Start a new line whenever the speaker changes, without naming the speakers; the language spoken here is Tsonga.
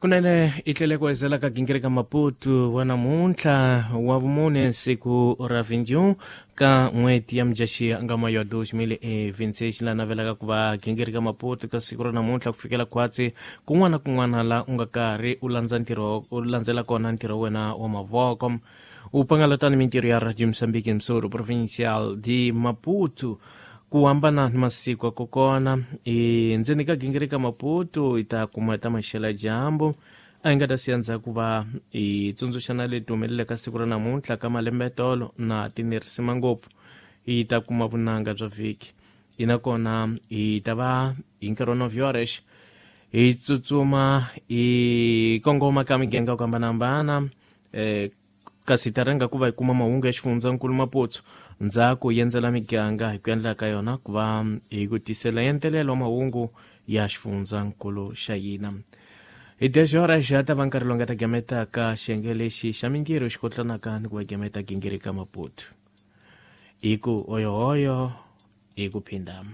Kunene i tlele ku ezela ka gingirika Maputo wa namuntlha wa vumune, siku ra 21 ka n'hweti ya Mudyaxihi nga mayo ya 2026. La navelaka ku va gingirika Maputo ka siku ra namuntlha ku fikela khwatsi kun'wana na kun'wana la u nga karhi u landza ntirho, u landzela kona ntirho wa wena wa mavoko, u pangalatani mintirho ya Radio Mozambique Msoro Provincial de Maputo ku hambana ni masiku ya kokona. I ndzeni ka gingirika Maputo hi ta kuma ta maxela dyambu a hi nga ta siya ndzhaku va hi tsundzuxana leti humeleleka siku ra namuntlha ka malembetolo na tinerisima ngopfu. Hi ta kuma vunanga bya vhiki hi nakona hi ta va hi nkarhi wa novyorex hi tsutsuma hi kongoma ka miganga ku hambanahambana, kasi hi ta rhanga ku va hi kuma mahungu ya xifundzankulu Maputo, ndzhaku hi endzela miganga hi ku endla ka yona ku va hi ku tisela entelelo wa mahungu ya xifundzankulu xa hina. Hi dexora xa ta va nkarhi lowu nga ta gametaka xiyenge lexi xa mintirho xi kotlanaka ni ku va gameta gingirika Maputo hi ku oyohoyo hi ku phinda.